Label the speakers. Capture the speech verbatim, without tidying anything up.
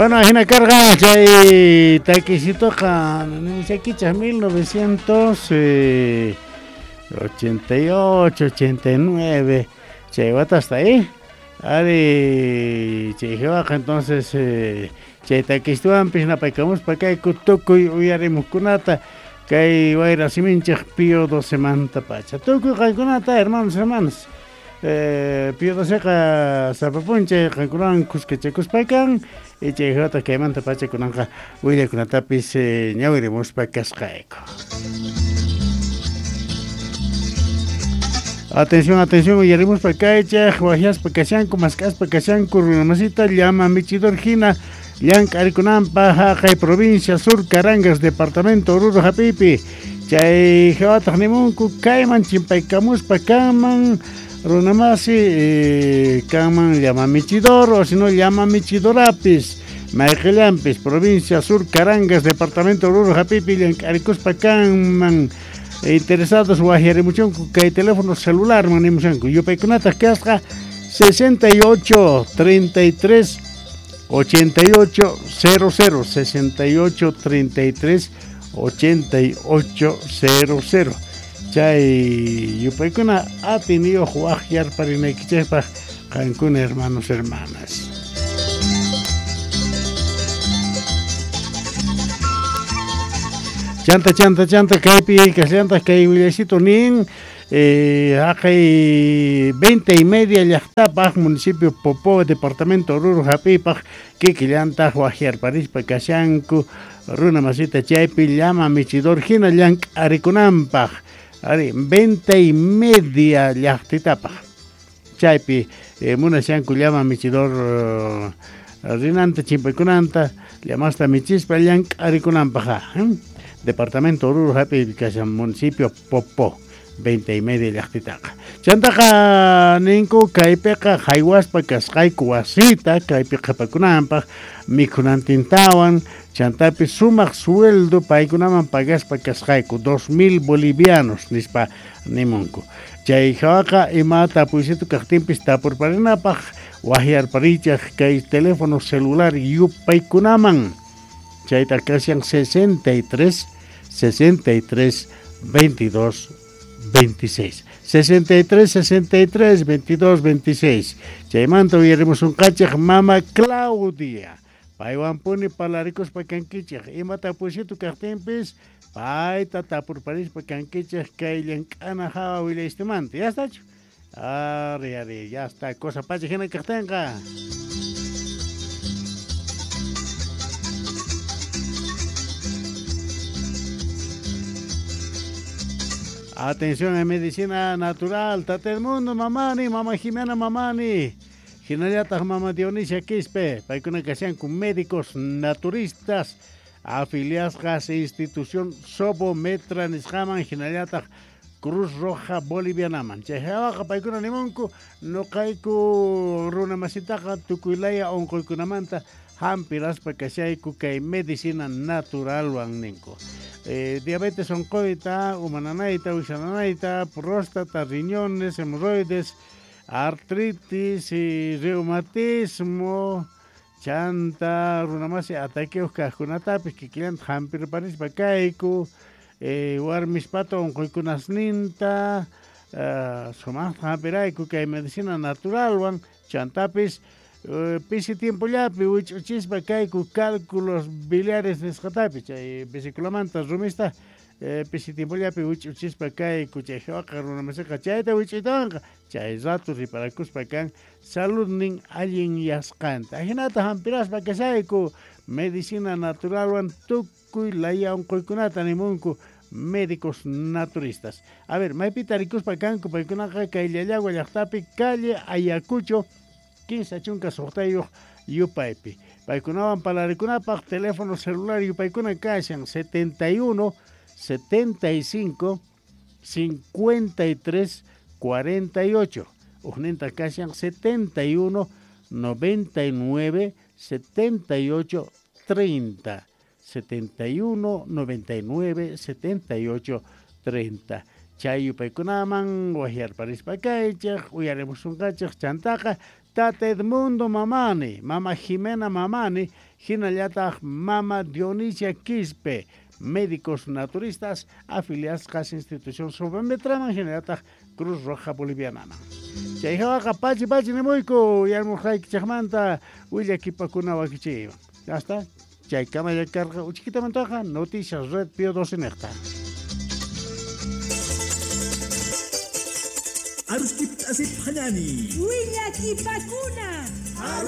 Speaker 1: Bueno, ajina karqa chay takisitoqa nimushaykichaq mil novecientos ochenta y ocho, ochenta y nueve chay watasta ahí. Ari chay hawaqa entonces eh, chay takisituwanpis napaykamuspa kayku tukuy uyarimuqkunata kay wayra siminchik Pío doce manta pacha. Tukuy qankunata hermanos, hermanas. Eh, Pío doceqa sapapunchay qankunawan kuskachakuspaykan y chay hawata kaymanta pacha kunanqa willakunatapis eh, ñawirimuspa kasqayku. Atención, atención, uyarimuspa kaychaq, wahyaspa kashanku, mask'aspa kashanku, runamasita llama michidor hina llank'arikunanpaq haqay provincia Sur Carangas, departamento Oruro hap'iypi. Chay hawataq nimunku kayman chimpaykamuspa kanman runamasi eh, kanman llama michidor o si no llama michidorapis mayqillampis provincia Sur Carangas, departamento Oruro hap'iypi llank'arikuspa kanman. Interesados wahyarimuchunku kay teléfono celular manimushanku yupaykunataq kasqa sesenta y ocho, treinta y tres, ochenta y ocho, cero cero, sesenta y ocho, treinta y tres, ochenta y ocho, cero cero. Chay yupaykuna atiniyuq wahyarparinaykichikpaq qankuna hermanos, hermanas. Chanta, chanta, chanta, kaypi kashallantaq kay willasito nin eh, haqay veinte y media llaqtapaq municipio Popó, departamento Oruro hap'iypaq kikillantaq wahyarparispa kashanku runa masita chaypi llama michidor hina llank'arikunanpaq ari veinte y media llaqtitapaq chaypi eh, munashanku llama michidor uh, rinanta chimpaykunanta llamasta michispa llank'arikunanpaq eh? Departamento Oruro hap'iypi kashan municipio Popó veinte y media llaqtitaqa. Chantaqa ninku kaypiqa haywaspa kasqayku wasita kaypi qhapakunanpaq mikhunantintawan chantapi sumaq sueldo paykunaman pagaspa kasqayku dos mil bolivianos nispa nimunku. Chay hawaqa ima tapuysitu kaqtinpis tapurparinapaq wahyarparichaq kay teléfono celular yupaykunaman. Chayta kashan sesenta y tres, sesenta y tres, veintidós, veintiséis. sesenta y tres, sesenta y tres, veintidós, veintiséis. Chaymanta uyarimus unqachaq mama Claudia. Paywan puni parlarikuspa kankichaq. Ima tapuysitu kaqtinpis payta tapurparispa kankichaq kay llank'ana hawa willayistimanta. Ya estachu? Ari, ari, ya está. Cosa pacha hina kaqtinqa. Atención en medicina natural, Tata el mundo, mamani, mamá Jimena mamani, hinallataq mama Dionisia Quispe, paykuna kashanku médicos naturistas, afiliasqas institución Sobometra nisqaman, hinallataq Cruz Roja Bolivianaman. Chay hawaqa paykuna nimunku, nuqayku runa masitaqa tukuylaya unquykunamanta hampiraspa kashayku kay medicina naturalwan ninku. Eh, diabetes oncoita, humananaita, uxananaita, próstata, riñones, hemorroides, artritis y reumatismo, chanta, runamasi ataqueos kajkunatapis, kikillanta hampirparispa kayku, eh, warmispato onquykunasninta, uh, sumaqta hampirayku kay medicina naturalwan, chantapis, Uh, pisi tiempollapi wich'uchispa kayku cálculos biliares nisqatapi chay vesiculamanta rumista eh, pisi tiempollapi wich'uchispa kayku chay hawaqa runamasiqa chayta wich'uytawanqa chay rato riparakuspa kan saludnin allin yasqanta ajinata hampiraspa kashayku medicina naturalwan tukuy laya unquykunata nimunku médicos naturistas. A ver, maypita rikuspa kanku paykunaqa kay Llallagua llaqtapi calle Ayacucho quince chunka suqtayuq yupaypi. Paykunawan parlarikunapaq teléfono celular yupaykuna kashan setenta y uno, setenta y cinco, cincuenta y tres, cuarenta y ocho. Ujninta kashan setenta y uno, noventa y nueve, setenta y ocho, treinta. setenta y uno, noventa y nueve, setenta y ocho, treinta. Chay yupaykunaman wahyarparispa kaychaq uyarimusunqachaq chantaqa Tata Edmundo Mamani, Mama Jimena Mamani, hinallataq Mama Dionisia Quispe, médicos naturistas afiliados institución Sobemetraman, hinallataq Cruz Roja Boliviana. Chayhawaqa pachi pachi nimuyku yarmurqaykichikmanta willakipakuna wakichiywan. Ya está. Chaykama karqa uchikitamantaqa Noticias Red Pío doce niqta.
Speaker 2: Aruskip asip hanani.
Speaker 3: Willakipakuna.